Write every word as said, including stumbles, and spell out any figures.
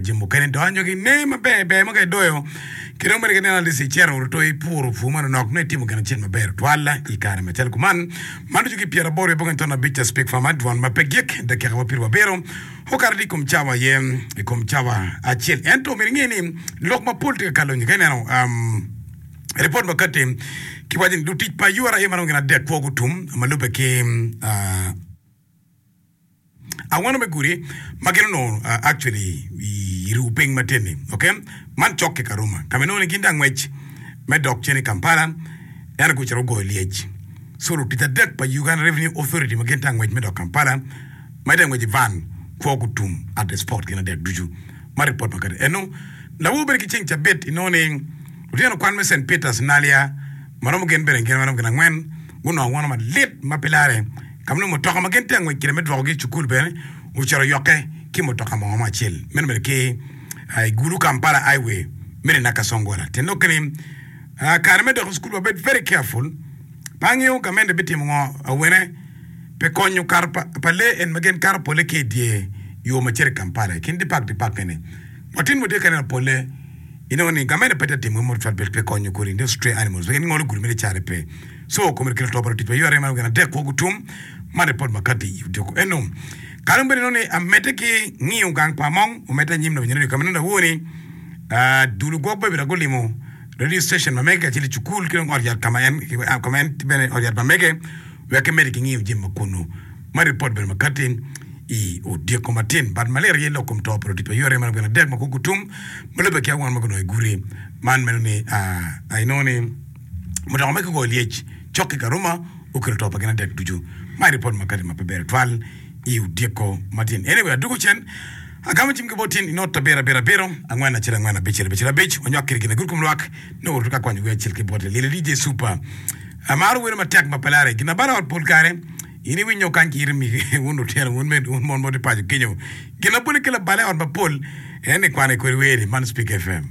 Jami mukene donyo ki ne maber ber ma ka idoyo ki dong bene ki neno alisi icito oto ipuro pur manonok nongo itimo gin acel maber tutwal i kare macalo kuman. Man ducu ki pyeraboro wiye abongwen ton abic ca Speak Farmer dwon ma pe gik dakika wa pyeraryo abiro okato i kom cawa aye i kom cawa acel. Ento myero inge ni lok mapol tye ka kalo nyo ka ineno um, ripot ma kati kiwaco ni lutic pa U R A maromo gin adek kwo gutum ma lubbe ki uh, Awano me gudi ma gin onongo actually i ruu piny matin-ni ok man cok ki Karuma ka ma inongo ni gin tye angwec me dok cen i Kampala ento gucito gugoyo lyec so lutic adek pa Uganda Revenue Authority ma gin tye angwec me dok Kampala ma gitye angwec i van kwo gutum at the spot gin adek ducu ma ripot ma kati eno lawor bene ki ceng cabit inongo ni lutino kwan me Saint Peters Naalya ma romo gin bene gin ma romo gin angwen gunongo awano malit ma pe lare Ka ma nongo mutoka ma gin tye ka ngwec kwede me dwokogi i cukul bene ocito oyokke ki mutoka mo mo acel meno bene ki i Gulu Kampala Highway meno i Nakasongola. Tyen lokke ni kare me dok i cukul wabed very careful. Pe angeyo gamente bitimo ngo awene pi konyo kato pa lee en ma gin kato pole ki i dye yo ma cito i Kampala i kin dipak dipak eni. Watin watye ka neno pole inongo ni gamente pe tye ka timo gin mo tutwal pi konyo kodi those stray animals pien ngolo gudi mere care pe. Co kome kelo to pa lutic pa U R A ma gin adek kwo gutum man ripot ma kati i odiko eno. Kare mo bene inongo ni amedde ki ngiyo gang pa Among omedde anyim lawiny radio ka ma inongo awo ni dul ogwok Babila gulimo radio station ma mege kacel i cukul ki dong ot yat ka ma en ka ma en bene ot yat ma mege wek kimedde ki ngiyo jami ma kunu. Man ripot bene ma kati i odiko matin. But malit aye lok kom to pa lutic pa U R A ma gin adek ma kwo gutum ma lubbe ki awano ma gunongo i gudi man meno ni inongo ni Mutoka ma kigoyo lyec cok ki Karuma okelo to pa gin adek ducu. Ma ripot ma kati ma pe ber tutwal i odiko matin. Anyway, adwogo cen agamo cim ki bot tin i not abiro abiro abiro angwen acel angwen abicel abicel abic wanywak kede gin agulu kom lwak nongo waruto ka kwanyo wer acel ki bote Lili D J Super amaro welo matek ma pe lare gin abalo ot pol kare in iwinyo kany ki ite migi wun lutino wun med wun mon ma wutye paco kenyo gin labole ki labale ot mapol en ni kwano i kodi wer-ri man Speak F M.